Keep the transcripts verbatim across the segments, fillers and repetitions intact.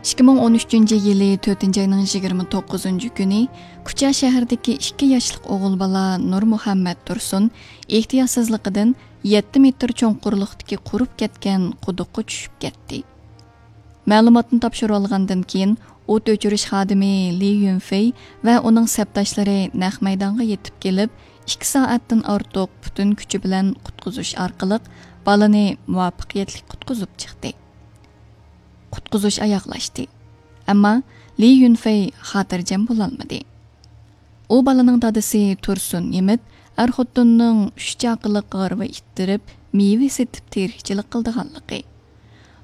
ئىككى مىڭ ئون ئۈچىنچى يىلى تۆتىنچى ئاينىڭ يىگىرمە توققۇزىنچى كۈنى كۇچا شەھىرىدىكى ئىككى ياشلىق ئوغۇل بالا نۇرمۇھەممەت تۇرسۇن ئېھتىياتسىزلىقىدىن يەتتە مېتىر چوڭقۇرلۇقتىكى قۇرۇپ كەتكەن قۇدۇققا چۈشۈپ كەتتى. مەلۇماتنى تاپشۇرۇۋالغاندىن كېيىن، ئوت ئۆچۈرۈش خادىمى لى يۈنفېي ۋە ئۇنىڭ سەپداشلىرى نەق مەيدانغا يېتىپ كېلىپ، ئىككى سائەتتىن ئارتۇق پۈتۈن كۈچى بىلەن قۇتقۇزۇش ئارقىلىق بالىنى مۇۋەپپەقىيەتلىك قۇتقۇزۇپ چىقتى. قۇتقۇزۇش ئاياغلاشتى. ئەمما لى يۈنفېي خاتىرجەم بولالمىدى. ئۇ بالىنىڭ دادىسى تۇرسۇن يىمىت ئەر خوتۇننىڭ ئۈچ چاقىلىق ھارۋا ئىتتىرىپ، مېۋە سېتىپ تىرىكچىلىك قىلىدىغانلىقى،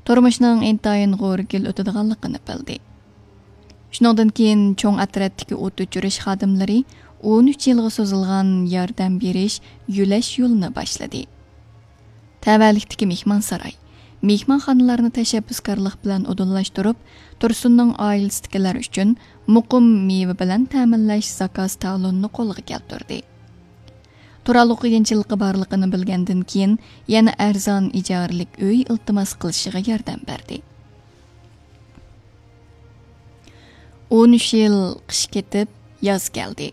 تۇرمۇشنىڭ ئىنتايىن غورىگىل ئۆتىدىغانلىقىنى بىلدى. شۇنىڭدىن كېيىن چوڭ ئەترەتتىكى ئوت ئۆچۈرۈش خادىملىرى ئون ئۈچ يىلغا سوزۇلغان ياردەم بېرىش، يۆلەش يولىنى باشلىدى. تەۋەلىكتىكى مېھمانساراي، مېھمانخانىلارنى تەشەببۇسكارلىق بىلەن ئۇدۇللاشتۇرۇپ، تۇرسۇننىڭ ئائىلىسىدىكىلەر ئۈچۈن مۇقىم مېۋە بىلەن تەمىنلەش زاكاز تالونىنى قولغا كەلتۈردى. تۇرالغۇ قىيىنچىلىقى بارلىقىنى بىلگەندىن كېيىن، يەنە ئەرزان ئىجارىلىك ئۆي ئىلتىماس قىلىشىغا ياردەم بەردى. ئون ئۈچ يىل قىش كېتىپ، ياز كەلدى.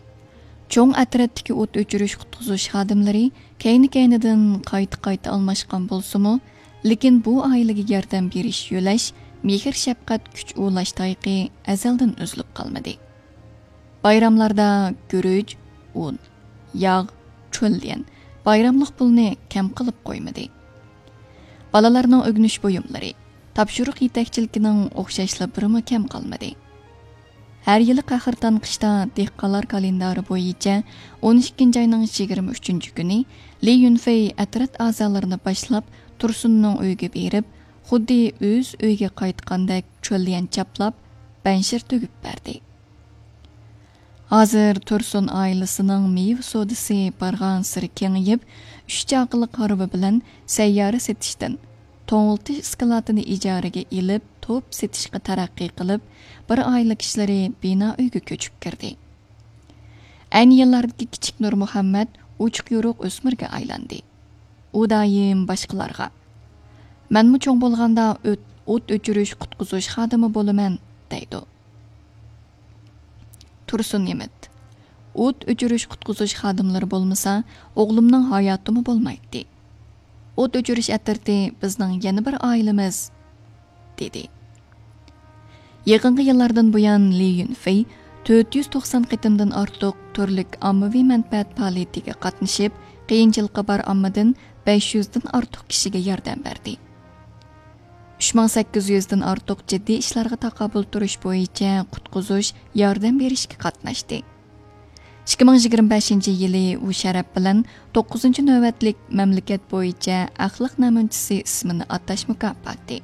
چوڭ ئەترەتتىكى ئوت ئۆچۈرۈش قۇتقۇزۇش خادىملىرى كەينى-كەينىدىن قايتا-قايتا ئالماشقان بولسىمۇ، لېكىن بۇ ئائىلىگە ياردەم بېرىش، يۆلەش، مېھىر-شەپقەت، كۈچ ئۇلاش تايىقى ئەزەلدىن ئۈزۈلۈپ قالمىدى. بايراملاردا گۈرۈچ، ئۇن، ياغ، چۆليەن، بايراملىق پۇلنى كەم قىلىپ قويمىدى. بالىلارنىڭ ئۆگىنىش بۇيۇملىرى، تاپشۇرۇق يېتەكچىلىكىنىڭ ئوخشاشلا بىرىمۇ كەم قالمىدى. ھەر يىلى قەھرىتان قىشتا دېھقانلار كالېندارى بويىچە ئون ئىككىنچى ئاينىڭ يىگىرمە ئۈچىنچى كۈنى لى يۈنفېي ئەترەت ئەزالىرىنى باشلاپ، تۇرسۇننىڭ ئۆيىگە بېرىپ، خۇددى ئۆز ئۆيىگە قايتقاندەك چۆليەن چاپلاپ، بەنشىر تۈگۈپ بەردى. ھازىر تۇرسۇن ئائىلىسىنىڭ مېۋە سودىسى بارغانسېرى كېڭىيىپ، ئۈچ چاقىلىق ھارۋا بىلەن سەييارە سېتىشتىن، توڭلىتىش ئىسكىلاتىنى ئىجارىگە ئېلىپ، توپ سېتىشقا تەرەققىي قىلىپ، بىر ئائىلە كىشىلىرى بىنا ئۆيگە كۆچۈپ كىردى. ئەينى يىللاردىكى كىچىك نۇرمۇھەممەت ئوچۇق يورۇق ئۆسمۈرگە ئايلاندى. ئۇ دائىم باشقىلارغا، «مەنمۇ چوڭ بولغاندا ئۆت-، ئوت ئۆچۈرۈش قۇتقۇزۇش خادىمى بولىمەن» دەيدۇ. تۇرسۇن نېمىت، «ئوت ئۆچۈرۈش قۇتقۇزۇش خادىملىرى بولمىسا، ئوغلۇمنىڭ ھاياتىمۇ بولمايتتى. ئوت ئۆچۈرۈش ئەترىتى بىزنىڭ يەنە بىر ئائىلىمىز» دېدى. يېقىنقى يىللاردىن بۇيان لى يۈنفېي تۆت يۈز توقسان قېتىمدىن ئارتۇق تۈرلۈك ئاممىۋى مەنپەئەت پائالىيىتىگە قاتنىشىپ، قىيىنچىلىقى بار ئاممىدىن بەش يۈزدىن ئارتۇق كىشىگە ياردەم بەردى. ئۈچ مىڭ سەككىز يۈزدىن ئارتۇق جىددىي ئىشلارغا تاقابىل تۇرۇش بويىچە قۇتقۇزۇش، ياردەم بېرىشكە قاتناشتى. ئىككى مىڭ يىگىرمە بەشىنچى يىلى ئۇ شەرەپ بىلەن توققۇزىنچى نۆۋەتلىك مەملىكەت بويىچە ئەخلاق نەمۇنىچىسى ئىسمىنى ئاتاش مۇكاپاتى،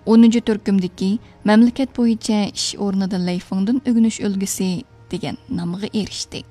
ئونىنچى تۈركۈمدىكى مەملىكەت بويىچە ئىش ئورنىدا لەيفىڭدىن ئۆگىنىش ئۈلگىسى دېگەن نامغا ئېرىشتى.